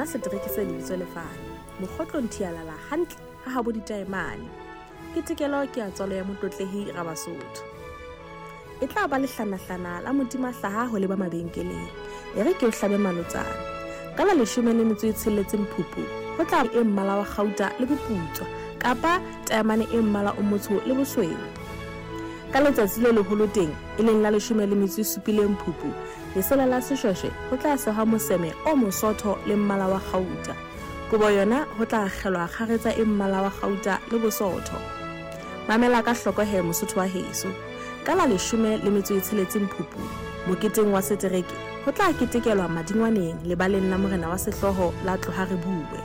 Sona setereke se lebitso lefane. Mokgotlong thialala hantle ha habo ditaemane. Ketekelo ke ya tswalo ya Motlotlehi Rabasotho. E tla ba lehlanahlana la Modimahlaha ho leba mabenkeleng. E re ke o hlabe malotsana. Ka la 16 Phupu, ho tla e mmala wa kgauta le boputswa kapa taemane e mmala o motsho le bosweu. Ka letsatsi le leholo teng, e leng la 17 Phupu, lesela la seshweshwe ho tla sehwa moseme o mosootho le mmala wa kgauta. Kobo yona ho tla akgelwa kgaretsa e mmala wa kgauta le bosootho. Mamela ka hloko he Mosotho wa heso. Ka la 16 Phupu, moketeng wa setereke, ho tla ketekelwa Madingwaneng lebaleng la morena wa sehlooho la Tloha Re Bue.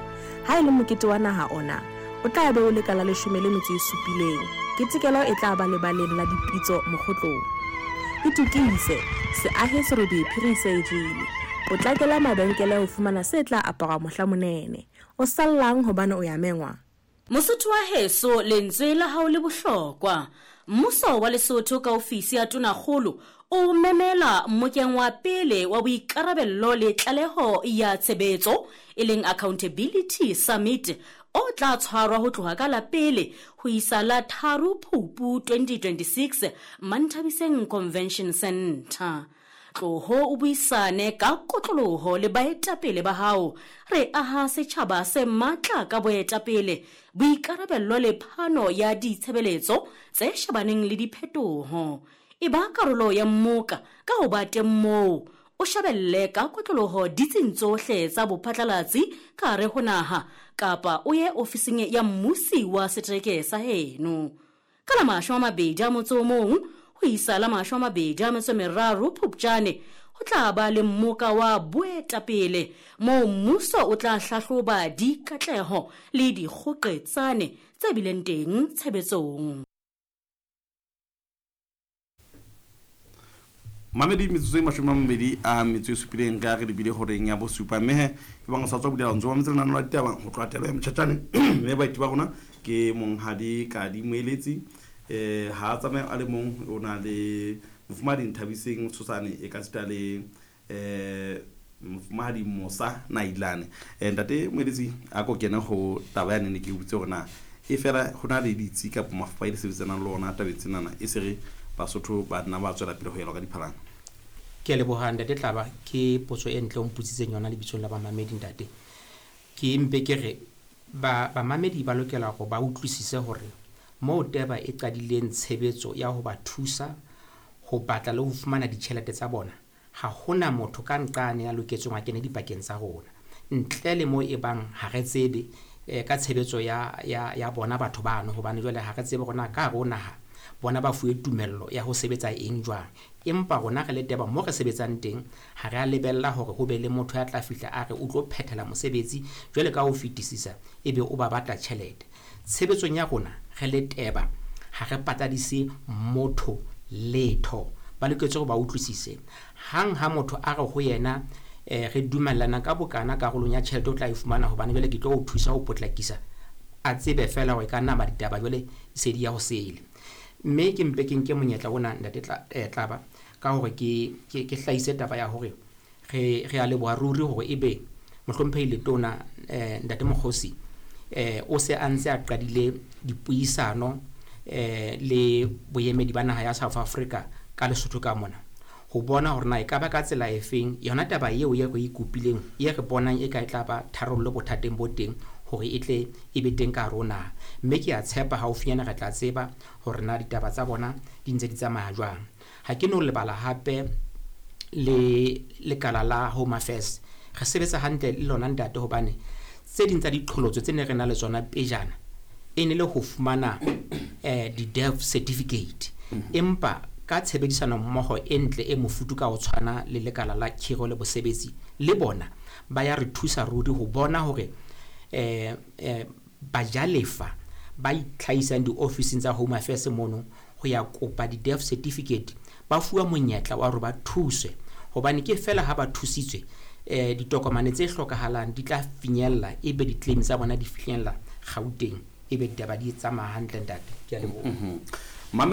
Ha e le mokete wa naha ona, o tla be o le ka la 17. Ketekelo e tla ba lebaleng la dipitso Mokgotlong. Itokise, seahe serobe phiri se e jele. Potlakela mabenkele ho fumana se tla aparwa mohla monene. O sallang hobane o ya mengwa? Mosotho wa heso, lentswe la hao le bohlokwa. Mmuso wa Lesotho ka ofisi ya Tonakgolo o memela mmokeng wa pele wa boikarabello le tlaleho ya tshebetso e leng Accountability Summit o tla tshwarwa ho tloha ka la pele ho isa la 3 Phupu 2026 Manthabiseng Convention Centre. Tloho o buisane ka kotloloho le baetapele ba hao. Re aha setjhaba se matla ka boetapele, boikarabello le phano ya ditshebeletso tse shebaneng le diphetoho. E ba karolo ya mmoka ka ho ba teng moo, o shebelle ka kotloloho ditsing tsohle tsa bophatlalatsi ka hare ho naha kapa o ye ofising ya mmusi wa setereke sa heno. Ka la 21 ho isa la 23 Phupjane ho tla ba le mmoka wa boetapele moo mmuso o tla hlahloba dikatleho le dikgoqetsane tse bileng teng tshebetsong. Mamedi metsotso e 27 re a re lebile horeng ya bosupa mme he e bang o sa tswa bulela ntse wa metse lenano la ditaba ho tloha telo ya motjhatjane mme baeti ba rona ke monghadi Kadi Moeletsi ha a tsamaye a le mong o na le mofumahadi Nthabiseng Tshosane e ka sita le mofumahadi Mosa Nailane. Ntate Moeletsi a ko kene ho taba ya nene ke botse hore na e fela ho na le ditsi kapa mafapha e le sebetsanang le ona tabeng tsenana e se re Basotho ba nna ba tswela pele ho elwa ka diphalana. Ke a leboha ntate Tlaba, ke potso e ntle o mpotsitseng yona lebitsong la bamamedi ntate. Ke mpe ke re ba bamamedi ba lokela hore ba utlwisise hore moo Teba e qadileng tshebetso ya ho ba thusa ho batla le ho fumana ditjhelete tsa bona, ha hona motho ka nqane ya loketsweng a kene dipakeng tsa rona ntle le moo e bang ha re tsebe ka tshebetso ya, ya, ya bona batho bano, hobane jwale ha re tsebe hore na ka hare ho naha bona ba fuwe tumello ya ho sebetsa eng jwang. Empa rona re le Teba mo re sebetsang teng ha re a lebella hore ho be le motho ya tla fihla a re o tlo phethela mosebetsi jwale ka ho fetisisa ebe o ba batla tjhelete. Tshebetsong ya rona re le Teba ha re patadise motho letho. Ba loketse hore ba utlwisise. Hang ha motho a re ho yena re dumellana ka bokana karolong ya tjhelete o tla e fumana hobane jwale ke tlo o thusa ho potlakisa, a tsebe feela hore e ka nna ba ditaba jwale se di ya ho sele. Mme ke mpe ke nke monyetla ona ntate Tlaba ka hore ke ke ke hlahise taba ya hore re re a leboha ruri hore ebe mohlomphehi letona ntate Mokgosi o se a ntse a qadile dipuisano le boemedi ba naha ya South Africa ka Lesotho ka mona ho bona hore na e ka ba ka tsela efeng yona taba eo ye re e kopileng ye re bonang e ka e tla ba tharollo bothateng bo teng hore e tle e be teng ka hare ho naha. Mme ke a tshepa haufinyana re tla tseba hore na ditaba tsa bona di ntse di tsamaya jwang. Ha ke no lebala hape le lekala la Home Affairs. Re sebetsa hantle le lona ntate hobane tse ding tsa diqholotso tse ne re na le tsona pejana e ne le ho fumana di-death certificate. Empa ka tshebedisano mmoho e ntle e mofuthu ka ho tshwana le lekala la khiro le bosebetsi le bona ba ya re thusa ruri ho bona hore bajalefa ba itlhahisang diofising tsa Home Affairs mono ho ya kopa di-death certificate ba fuwa monyetla wa hore ba thuswe hobane ke fela ha ba thusitswe ditokomane tse hlokahalang di tla finyella ebe di-claim tsa bona di finyella Gauteng ebe ditaba di tsamaya hantle ntate. Ke a leboha. Mame